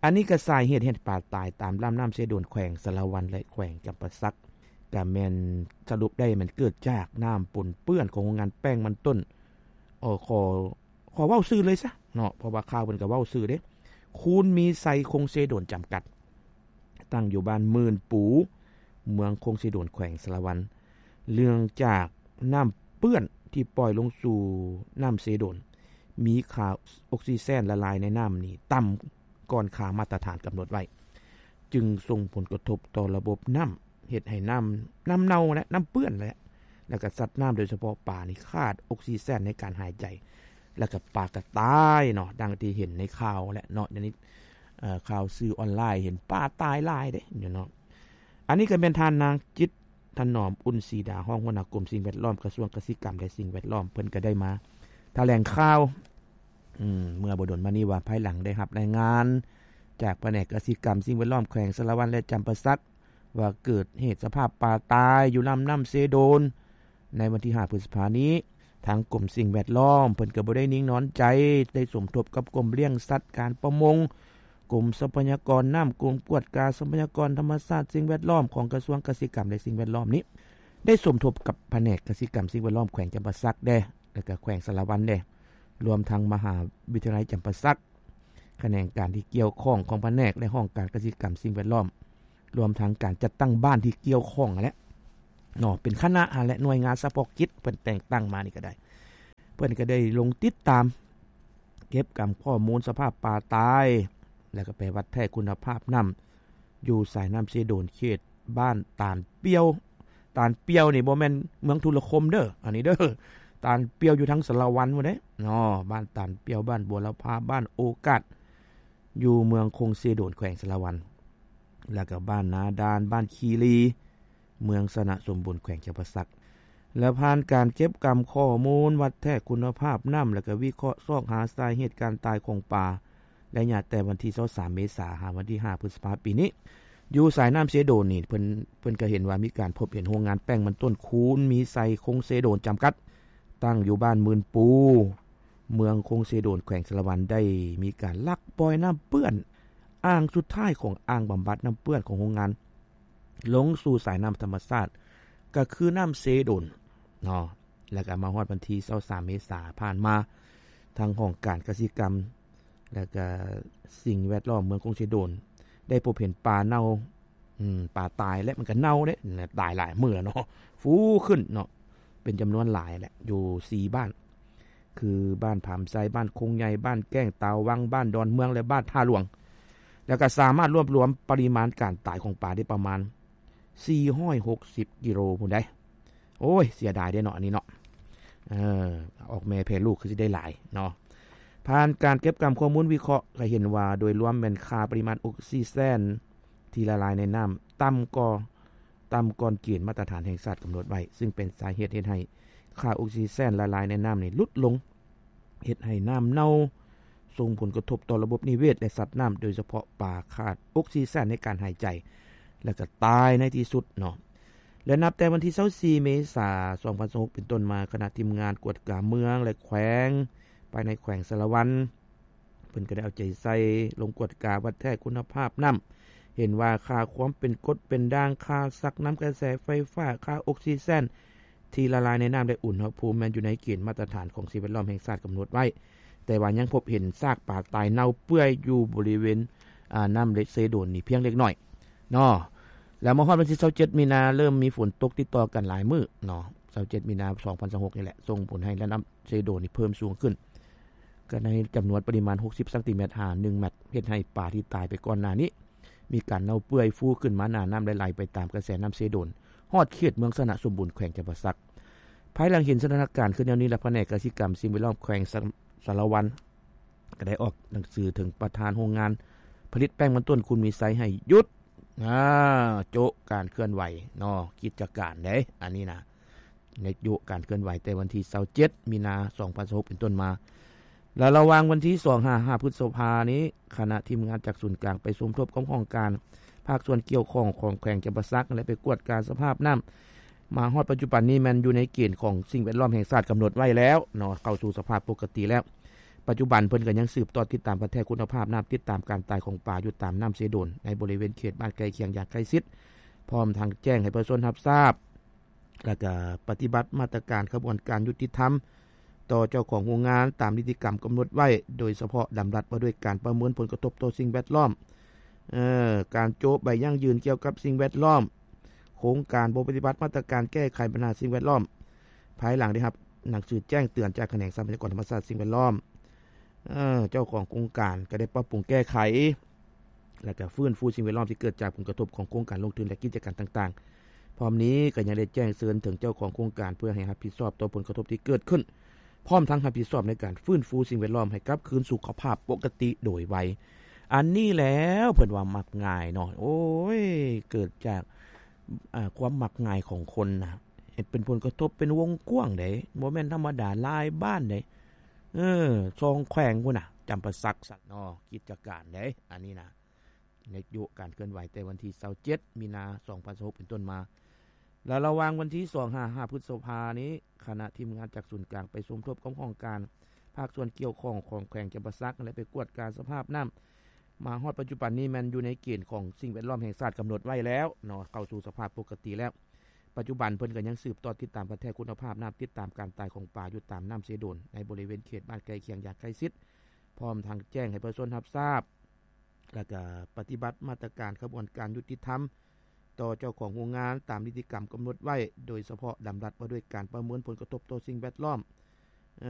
ອັນນີ້ກໍສາເຫດເຮັດປາຕາຍຕາມລຳນ້ຳເຊໂດນ ແຂວງສາລະວັນ ແລະ ແຂວງຈຳປາສັກ ກໍແມ່ນສະຫຼຸບໄດ້ແມ່ນເກີດຈາກນ້ຳປົນເປື້ອນຂອງໂຮງງານແປ້ງມັນຕົ້ນ ເອີ ຂໍ ຂໍເວົ້າຊື່ເລີຍຊະເນາະ ເພາະວ່າຂ່າວເພິ່ນກໍເວົ້າຊື່ເດ້. ຄູນມີໄຊ ຄົງເຊໂດນ ຈຳກັດ ຕັ້ງຢູ່ບ້ານໝື່ນປູ ເມືອງຄົງເຊໂດນ ແຂວງສາລະວັນ ເນື່ອງຈາກນ້ຳເປື້ອນທີ່ປ່ອຍລົງສູ່ນ້ຳເຊໂດນ ມີຄ່າອົກຊີແຊນລະລາຍໃນນ້ຳນີ້ຕ່ຳກ່ອນຄ່າມາດຕະຖານກຳນົດໄວ້ ຈຶ່ງສົ່ງຜົນກະທົບຕໍ່ລະບົບນ້ຳ ເຮັດໃຫ້ນ້ຳ ນ້ຳເນົ່າແຫຼະ ນ້ຳເປື້ອນແຫຼະ ແລ້ວກໍສັດນ້ຳ ໂດຍສະເພາະປານີ້ຂາດອົກຊີແຊນໃນການຫາຍໃຈ ແລ້ວກໍປາກໍຕາຍເນາະ ດັ່ງທີ່ເຫັນໃນຂ່າວແຫຼະເນາະ. ດຽວນີ້ ເອີ ຂ່າວສື່ອອນລາຍເຫັນປາຕາຍຫຼາຍເດ້ເນາະ. ອັນນີ້ກໍແມ່ນທ່ານນາງຈິດຖະໜອມ ອຸ່ນສີດາ ຮອງຫົວໜ້າກົມສິ່ງແວດລ້ອມ ກະຊວງກະສິກຳ ແລະ ສິ່ງແວດລ້ອມ ເພິ່ນກໍໄດ້ມາຖະແຫຼງຂ່າວ ອືມ ເມື່ອບໍ່ດົນມານີ້ວ່າ ພາຍຫຼັງໄດ້ຮັບລາຍງານຈາກພະແນກກະສິກຳ ສິ່ງແວດລ້ອມ ແຂວງສາລະວັນ ແລະ ຈຳປາສັກ ວ່າເກີດເຫດສະພາບປາຕາຍຢູ່ລຳນ້ຳເຊໂດນ ໃນວັນທີຫ້າ ພຶດສະພານີ້. ທາງກົມສິ່ງແວດລ້ອມເພິ່ນກໍບໍ່ໄດ້ນິ່ງນອນໃຈ ໄດ້ສົມທົບກັບກົມລ້ຽງສັດ, ການປະມົງ, ກົມຊັບພະຍາກອນນ້ຳ, ກົມກວດກາຊັບພະຍາກອນທຳມະຊາດ, ສິ່ງແວດລ້ອມ ຂອງກະຊວງກະສິກຳ ແລະ ສິ່ງແວດລ້ອມນີ້ ໄດ້ສົມທົບກັບພະແນກກະສິກຳ ສິ່ງແວດລ້ອມ ແຂວງຈຳປາສັກແດ່ ແລະ ກະແຂວງສາລະວັນແດ່ ລວມທັງມະຫາວິທະຍາໄລຈຳປາສັກ, ຂະແໜງການທີ່ກ່ຽວຂ້ອງຂອງພະແນກ ແລະ ຫ້ອງການກະສິກຳ ສິ່ງແວດລ້ອມ ລວມທັງການຈັດຕັ້ງບ້ານທີ່ກ່ຽວຂ້ອງຫັ້ນແຫຼະເນາະ ເປັນຄະນະຫັ້ນແຫຼະ ໜ່ວຍງານສະເພາະກິດ ເພິ່ນແຕ່ງຕັ້ງມານີ້ກໍໄດ້ ເພິ່ນກໍໄດ້ລົງຕິດຕາມເກັບກຳຂໍ້ມູນສະພາບປາຕາຍ ແລ້ວກໍໄປວັດແທກຄຸນນະພາບນ້ຳ ຢູ່ສາຍນ້ຳເຊໂດນ ເຂດບ້ານຕານປ່ຽວ. ຕານປ່ຽວນີ້ບໍ່ແມ່ນເມືອງທຸລະຄົມເດີ ອັນນີ້ເດີ ຕານປ່ຽວຢູ່ທາງສາລະວັນພຸ້ນເດ້ເນາະ. ບ້ານຕານປ່ຽວ, ບ້ານບົວລະພາ, ບ້ານໂອກາດ ຢູ່ເມືອງຄົງເຊໂດນ ແຂວງສາລະວັນ ແລ້ວກໍບ້ານນາດານ, ບ້ານຄີລີ ເມືອງຊະນະສົມບູນ ແຂວງຈຳປາສັກ ແລະ ຜ່ານການເກັບກຳຂໍ້ມູນ ວັດແທກຄຸນນະພາບນ້ຳ ແລ້ວກໍວິເຄາະຊອກຫາສາເຫດການຕາຍຂອງປາ ໄລຍະແຕ່ວັນທີຊາວສາມ ເມສາ ຫາວັນທີຫ້າ ພຶດສະພາ ປີນີ້, ຢູ່ສາຍນ້ຳເຊໂດນນີ້ ເພິ່ນ ເພິ່ນກໍເຫັນວ່າມີການພົບເຫັນໂຮງງານແປ້ງມັນຕົ້ນຄູນມີໄຊ ຄົງເຊໂດນ ຈຳກັດ ຕັ້ງຢູ່ບ້ານໝື່ນປູ ເມືອງຄົງເຊໂດນ ແຂວງສາລະວັນ ໄດ້ມີການລັກປ່ອຍນ້ຳເປື້ອນ ອ່າງສຸດທ້າຍຂອງອ່າງບຳບັດນ້ຳເປື້ອນຂອງໂຮງງານ ລົງສູ່ສາຍນ້ຳທຳມະຊາດ ກໍຄືນ້ຳເຊໂດນເນາະ. ແລ້ວກໍມາຮອດວັນທີຊາວສາມເມສາຜ່ານມາ ທາງຫ້ອງການກະສິກຳ ແລ້ວກໍສິ່ງແວດລ້ອມເມືອງຄົງເຊໂດນ ໄດ້ພົບເຫັນປາເນົ່າ ອືມ ປາຕາຍ ແລະ ມັນກໍເນົ່າເດ້ ຕາຍຫຼາຍມື້ແລ້ວເນາະ ຟູຂຶ້ນເນາະ ເປັນຈຳນວນຫຼາຍແຫຼະ ຢູ່ສີ່ບ້ານ ຄືບ້ານຜາມໄຊ, ບ້ານຄົງໃຫຍ່, ບ້ານແກ້ງຕາວັງ, ບ້ານດອນເມືອງ ແລະ ບ້ານທ່າຫຼວງ ແລ້ວກໍສາມາດລວບລວມປະລິມານການຕາຍຂອງປາໄດ້ປະມານສີ່ຮ້ອຍຫົກສິບກິໂລພຸ້ນໃດ໋. ໂອ້ຍ ເສຍດາຍເດ້ເນາະ ອັນນີ້ເນາະ ເອີ ອອກແມ່ແຜ່ລູກຄືຊິໄດ້ຫຼາຍເນາະ. ຜ່ານການເກັບກຳຂໍ້ມູນວິເຄາະ ກໍເຫັນວ່າໂດຍລວມແມ່ນຄ່າປະລິມານອົກຊີແຊນທີ່ລະລາຍໃນນ້ຳຕ່ຳກວ່າ ຕ່ຳກ່ອນເກນມາດຕະຖານແຫ່ງຊາດກຳນົດໄວ້ ຊຶ່ງເປັນສາເຫດເຮັດໃຫ້ຄ່າອົກຊີແຊນລະລາຍໃນນ້ຳນີ້ຫຼຸດລົງ ເຮັດໃຫ້ນ້ຳເນົ່າ ສົ່ງຜົນກະທົບຕໍ່ລະບົບນິເວດ ແລະ ສັດນ້ຳ ໂດຍສະເພາະປາຂາດອົກຊີແຊນໃນການຫາຍໃຈ ແລ້ວກໍຕາຍໃນທີ່ສຸດເນາະ. ແລະ ນັບແຕ່ວັນທີຊາວສີ່ເມສາສອງພັນຊາວຫົກເປັນຕົ້ນມາ ຄະນະທີມງານກວດກາເມືອງ ແລະ ແຂວງ ພາຍໃນແຂວງສາລະວັນ ເພິ່ນກໍໄດ້ເອົາໃຈໃສ່ລົງກວດກາວັດແທກຄຸນນະພາບນ້ຳ ເຫັນວ່າຄ່າຄວາມເປັນກົດເປັນດ່າງ, ຄ່າຊັກນ້ຳກະແສໄຟຟ້າ, ຄ່າອົກຊີແຊນທີ່ລະລາຍໃນນ້ຳ ແລະ ອຸນຫະພູມແມ່ນຢູ່ໃນເກນມາດຕະຖານຂອງສິ່ງແວດລ້ອມແຫ່ງຊາດກຳນົດໄວ້, ແຕ່ວ່າຍັງພົບເຫັນຊາກປາຕາຍເນົ່າເປື່ອຍຢູ່ບໍລິເວນ ອາ ນ້ຳເຊໂດນນີ້ພຽງເລັກນ້ອຍເນາະ. ແລ້ວມາຮອດວັນທີຊາວເຈັດມີນາ ເລີ່ມມີຝົນຕົກຕິດຕໍ່ກັນຫຼາຍມື້ເນາະ, ຊາວເຈັດມີນາສອງພັນຊາວຫົກນີ້ແຫຼະ ສົ່ງຜົນໃຫ້ລະດັບ ເຊໂດນນີ້ເພີ່ມສູງຂຶ້ນ ກໍໃນຈຳນວນປະລິມານຫົກສິບຊັງຕີແມັດຫາໜຶ່ງແມັດ ເຮັດໃຫ້ປາທີ່ຕາຍໄປກ່ອນໜ້ານີ້ ມີການເນົ່າເປື່ອຍຟູຂຶ້ນມາໜ້ານ້ຳ ແລະ ໄຫຼໄປຕາມກະແສນ້ຳເຊໂດນ ຮອດເຂດເມືອງຊະນະສົມບູນ ແຂວງຈຳປາສັກ. ພາຍຫຼັງເຫັນສະຖານະການຂຶ້ນແນວນີ້ແລ້ວ ພະແນກກະສິກຳ ສິ່ງແວດລ້ອມແຂວງສະ ສາລະວັນ ກໍໄດ້ອອກໜັງສືເຖິງປະທານໂຮງງານຜະລິດແປ້ງມັນຕົ້ນຄູນມີໄຊ ໃຫ້ຢຸດ ອາ ໂຈະການເຄື່ອນໄຫວເນາະ ກິດຈະການເດ້ ອັນນີ້ນະ ໃນໂຈະການເຄື່ອນໄຫວແຕ່ວັນທີຊາວເຈັດມີນາສອງພັນຊາວຫົກເປັນຕົ້ນມາ ແລະ ລະຫວ່າງວັນທີສອງຫາຫ້າພຶດສະພານີ້ ຄະນະທີມງານຈາກສູນກາງໄປສົມທົບກັບຫ້ອງການພາກສ່ວນກ່ຽວຂ້ອງຂອງແຂວງຈຳປາສັກ ແລະ ໄປກວດກາສະພາບນ້ຳ ມາຮອດປັດຈຸບັນນີ້ແມ່ນຢູ່ໃນເກນຂອງສິ່ງແວດລ້ອມແຫ່ງຊາດກຳນົດໄວ້ແລ້ວເນາະ ເຂົ້າສູ່ສະພາບປົກກະຕິແລ້ວ. ປັດຈຸບັນເພິ່ນກໍຍັງສືບຕໍ່ຕິດຕາມວັດແທກຄຸນນະພາບນ້ຳ, ຕິດຕາມການຕາຍຂອງປາຢູ່ຕາມນ້ຳເຊໂດນ ໃນບໍລິເວນເຂດບ້ານໃກ້ຄຽງຢ່າງໃກ້ຊິດ, ພ້ອມທັງແຈ້ງໃຫ້ປະຊາຊົນຮັບຊາບ ແລ້ວກະປະຕິບັດມາດຕະການຂະບວນການຍຸຕິທຳຕໍ່ເຈົ້າຂອງໂຮງງານຕາມນິຕິກຳກຳນົດໄວ້, ໂດຍສະເພາະດຳລັດວ່າດ້ວຍການປະເມີນຜົນກະທົບຕໍ່ສິ່ງແວດລ້ອມ, ເອີ ການໂຈະໃບຢັ້ງຢືນກ່ຽວກັບສິ່ງແວດລ້ອມ, ໂຄງການບໍ່ປະຕິບັດມາດຕະການແກ້ໄຂບັນຫາສິ່ງແວດລ້ອມ, ພາຍຫຼັງໄດ້ຮັບໜັງສືແຈ້ງເຕືອນຈາກຂະແໜງຊັບພະຍາກອນທຳມະຊາດສິ່ງແວດລ້ອມ, ເອີ ເຈົ້າຂອງໂຄງການກໍໄດ້ປັບປຸງແກ້ໄຂ ແລະ ກໍຟື້ນຟູສິ່ງແວດລ້ອມທີ່ເກີດຈາກຜົນກະທົບຂອງໂຄງການລົງທຶນ ແລະ ກິດຈະການຕ່າງໆ. ພ້ອມນີ້ກໍຍັງໄດ້ແຈ້ງເຊີນເຖິງເຈົ້າຂອງໂຄງການ ເພື່ອໃຫ້ຮັບຜິດຊອບຕໍ່ຜົນກະທົບທີ່ເກີດຂຶ້ນ, ພ້ອມທັງຮັບຜິດຊອບໃນການຟື້ນຟູສິ່ງແວດລ້ອມໃຫ້ກັບຄືນສູ່ສະພາບປົກກະຕິໂດຍໄວ. ອັນນີ້ແຫຼະເພິ່ນວ່າມັກງ່າຍເນາະ, ໂອ້ຍ ເກີດຈາກ ອາ ຄວາມມັກງ່າຍຂອງຄົນນະ, ເຮັດເປັນຜົນກະທົບເປັນວົງກວ້າງເດ້, ບໍ່ແມ່ນທຳມະດາ ຫຼາຍບ້ານເດ້. ເອີ ສອງແຂວງພຸ້ນນະ, ຈຳປາສັກ ສັດເນາະ, ກິດຈະການເດ້ ອັນນີ້ນະ. ໃນໂຈະການເຄື່ອນໄຫວແຕ່ວັນທີຊາວເຈັດມີນາສອງພັນຊາວຫົກເປັນຕົ້ນມາ ແລະ ລະຫວ່າງວັນທີສອງຫາຫ້າພຶດສະພານີ້ ຄະນະທີມງານຈາກສູນກາງໄປສົມທົບກັບຫ້ອງການພາກສ່ວນກ່ຽວຂ້ອງຂອງແຂວງຈຳປາສັກ ແລະ ໄປກວດກາສະພາບນ້ຳ ມາຮອດປັດຈຸບັນນີ້ແມ່ນຢູ່ໃນເກນຂອງສິ່ງແວດລ້ອມແຫ່ງຊາດກຳນົດໄວ້ແລ້ວເນາະ, ເຂົ້າສູ່ສະພາບປົກກະຕິແລ້ວ. ປັດຈຸບັນເພິ່ນກໍຍັງສືບຕໍ່ຕິດຕາມວັດແທກຄຸນນະພາບນ້ຳ, ຕິດຕາມການຕາຍຂອງປາຢູ່ຕາມນ້ຳເຊໂດນ ໃນບໍລິເວນເຂດບ້ານໃກ້ຄຽງຢ່າງໃກ້ຊິດ, ພ້ອມທັງແຈ້ງໃຫ້ປະຊາຊົນຮັບຊາບ ແລ້ວກະປະຕິບັດມາດຕະການຂະບວນການຍຸຕິທຳຕໍ່ເຈົ້າຂອງໂຮງງານຕາມນິຕິກຳກຳນົດໄວ້, ໂດຍສະເພາະດຳລັດວ່າດ້ວຍການປະເມີນຜົນກະທົບຕໍ່ສິ່ງແວດລ້ອມ,